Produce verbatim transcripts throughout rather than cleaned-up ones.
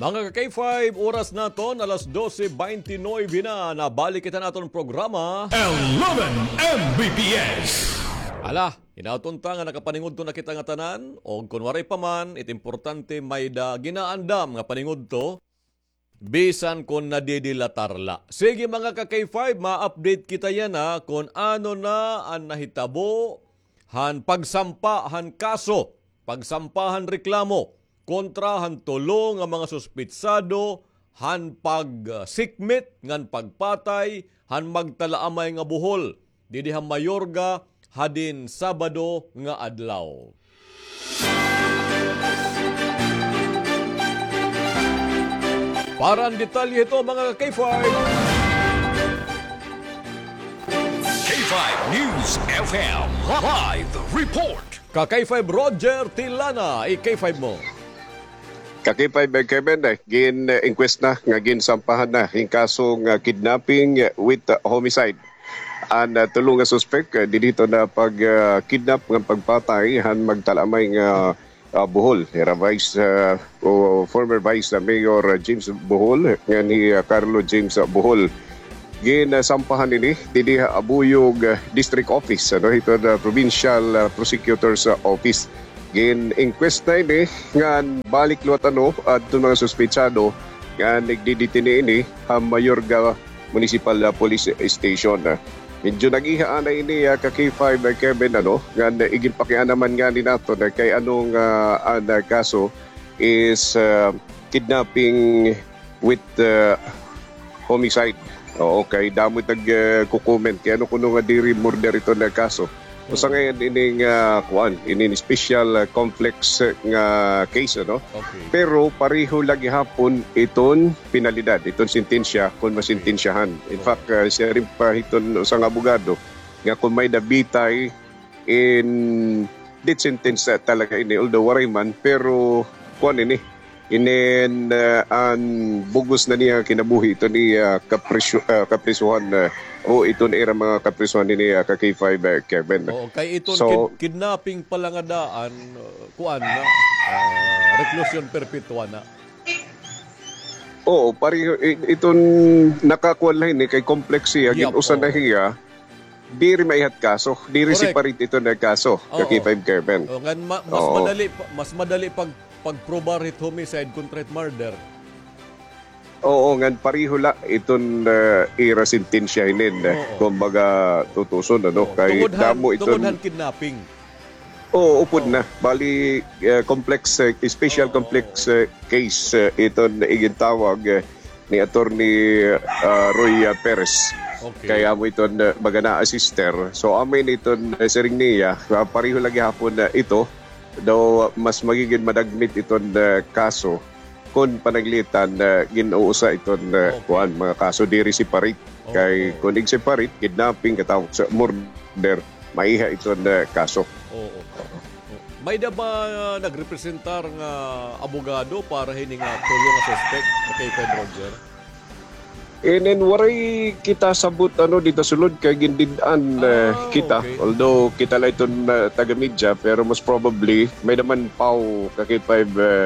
Mga ka-K five, oras naton, alas dose beintinuebe na. Nabalik kita naton programa. Eleven M B P S. Ala, hinaot unta nga nakapaningudto na kita nga tanan, og kon waray pa man, it importante may-ada ginaandam nga paningudto, bisan kon nadidilatar la. Sige, mga ka-K five, ma-update kita yana kon ano na an nahitabo han pagsampa han kaso, pagsampa han reklamo kontra han tulo nga mga suspitsado han pagsikmit ngan pagpatay han magtalaamay nga buhol didi ha Mayorga hadin Sabado nga adlaw. Para han detalye hito, mga ka-K five. K five News F M live report. Ka-K five Roger Tilana, i-K five mo. Ka-K five, eh, Kevin, eh, gin-inquest na nga ginsampahan na hin kaso nga kidnapping with homicide an, ah, tulo nga suspek, eh, didto na pag, ah, kidnap ngan pagpatay han magtalaamay nga, ah, buhol, hira Vice, ah, o former Vice, ah, Mayor, ah, James Bohol, ngan hi, ah, Carlo James, ah, Bohol. Ginsampahan ini didi ha Abuyog, ah, District Office, ano, hito na Provincial, ah, Prosecutor's, ah, Office. Gin-inquest na ini ngan balik liwat, ano, adto mga suspetsado nga nagdidetene ini ha Mayorga Municipal, ah, Police Station. Medyo nag-iha anay ini, ah, ka-K five, ah, Kevin, ano, ngan iginpakiana man ngani naton, ah, kay ano nga an, ah, kaso is, ah, kidnapping with, ah, homicide. Oo, kay damo it nag, ah, ko-comment kay ano kuno nga diri murder iton nga kaso. Usa ngay-an ini nga, kuan, ini special, ah, complex, ah, nga case, ano? Okay. Pero pareho la gihapon iton penalidad, iton sentensya kon masentensyahan. In fact, ah, siring pa hiton usa nga abogado nga kon may-ada bitay in death sentence, ah, talaga ini, although waray man, pero kuan ini, inin, ah, an bug-os na niya kinabuhi iton iya, ah, kapriso-, ah, kaprisohan, ah, o iton ira mga kaprisohan ini, ah, ka-K five, ah, Kevin. Oo, kay iton So, kid-, kidnapping pa la nga daan, uh, kuan na, ah, reclusion perpetua na. Oo, pareho, i-, iton nakakuan la ini kay complex hiya, Yep, gin-usa na oo. hiya, diri maihat kaso, diri Correct. separate iton nga kaso, Oo. ka-K five Kevin. Oo, ngan ma-, mas Oo. madali pa, mas madali pag, pagprobar hit homicide kontra hit murder. Oo, ngan pareho la iton, ah, ira sentensya hinin, Oo. kumbaga tutuson, ano, Oo. kay Tungod han, damo iton tungod han kidnapping. Oo, upod Oo. na. Bali, eh, complex, eh, special Oo. complex, eh, case, eh, iton igintawag, eh, ni Attorney, ah, Roy, ah, Perez. Okay. Kay amo iton, eh, baga na-assist her. So, amo ini iton, eh, siring niya, ah, pareho la gihapon, eh, ito, daw mas magigin madagmit iton, eh, kaso kon pananglitan, eh, gin-uusa iton, eh, Okay. kuan, mga kaso diri separate. Oo. Kay kon ig-separate, kidnapping, katawag sa murder, maiha iton, eh, kaso. Oo. May-ada ba, ah, nagrepresentar nga abogado para hini nga tulo nga suspek, ka-K five Roger? Inin waray kita sabot, ano, dida sulod kay gindid-an, eh, Ah, kita. okay. Although kita la iton, ah, taga-media, pero most probably, may-ada man Pau, ka-K five, eh,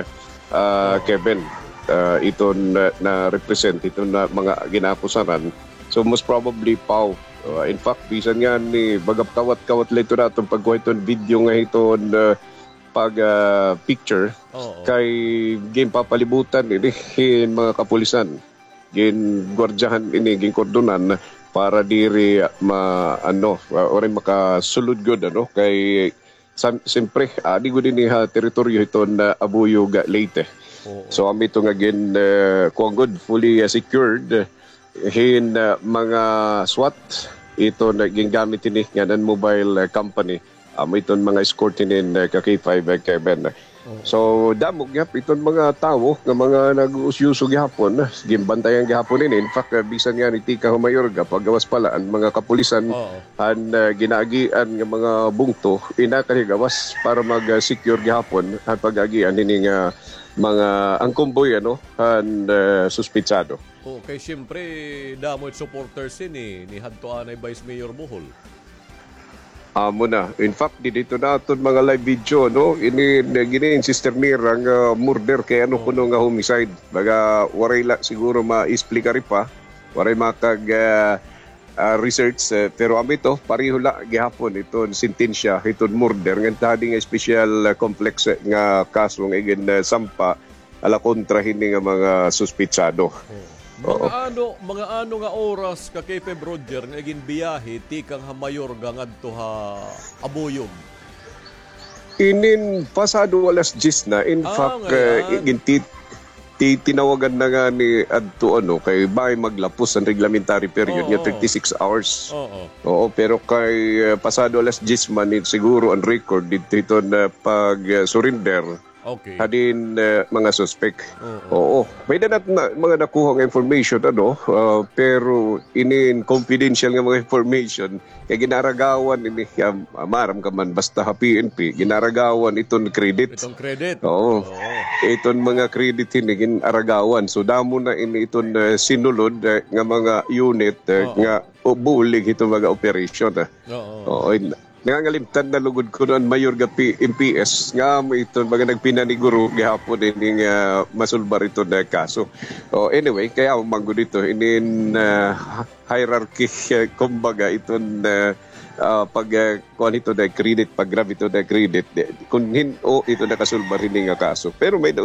ah, Oo. Kevin, ah, iton, ah, na-represent, iton, ah, mga ginaakusaran. So, most probably, Pau. Ah, in fact, bisan ngani, baga kawat-kawat la ito naton pagkuha iton video nga hiton, ah, pag, ah, picture, Oo. kay ginpapalibutan ini hin mga kapulisan. Gingwardyahan ini, ginkordonan para diri ma-, ano, ah, waray makasulod gud, ano, kay Sa-, siyempre, adi gud ini ha teritoryo hiton, ah, Abuyog, Leyte. Oo. So, amo ito nga gin, ah, kuan gud, fully, ah, secured hin, ah, mga SWAT. Ito nga gingamit ini nga non-mobile, ah, company. Amo iton mga escort hinin, ah, ka-K five, ah, Kevin. Oo. So, damo gihap iton mga tawo nga mga nag-uusyoso gihapon, ginbantayan gihapon ini. In fact, ah, bisan ngani tikang ha Mayorga, paggawas pa la an mga kapulisan Oo. han, ah, ginaagian nga mga bungto, inakal higawas para mag, ah, secure gihapon han pag-agian hini nga mga, ang convoy, ano, han, ah, suspetsado. Oo, kay siyempre, damo it supporters hini, ni hadto anay Vice Mayor Bohol. Amo na. In fact, didto na aton mga live video, no? Ini, gini in Sister Mira nga murder kay ano kuno nga homicide. Baga, waray la siguro ma-explicar pa. Waray makag, ah, ah, research, eh, pero amo ito, pareho la gihapon iton sentensya, iton murder, ngan hadi nga special, ah, complex, eh, nga kaso nga igin, eh, sampa ala kontra hini nga mga suspetsado. Oo. Mga ano, mga ano nga oras ka K P Roger nga ginbiyahe tikang ha Mayorga ngadto ha Abuyog? Inin pasado alas diyes na. In fact, eh, igin ti-, ti-, tinawagan na nga ni adto, ano, kay bay maglapos an reglementary period nga thirty-six hours. Oo. Oo, pero kay, eh, pasado alas diyes man, siguro an record didto hiton, eh, pag, eh, surrender. Okay. Hadin, eh, mga suspek. Oo. Oo. May danat na, mga nakuha nga information, ano, ah, pero inin confidential nga mga information, kay ginaragawan ini, ah, maaram ka man, basta ha P N P, ginaragawan iton credit. Iton credit. Oo. Oo. Iton mga credit ini, ginaragawan. So, damo na ini iton, eh, sinulod, eh, nga mga unit, eh, nga bulig iton mga operation, eh. Oo. Oo, in-, Nangangalimtan na lugod kuno an mayor nga P-, M P S nga amo iton mga nagpinaniguro gihapon ini nga masulbar iton, ah, kaso. Oh, anyway, kay amo man gud ito inin, ah, hierarchy, eh, kumbaga iton, ah, ah, pag, ah, kuan ito na credit, pag-grab ito na credit. Di, kun hin-o ito nakasulbar ini nga kaso. Pero may-ada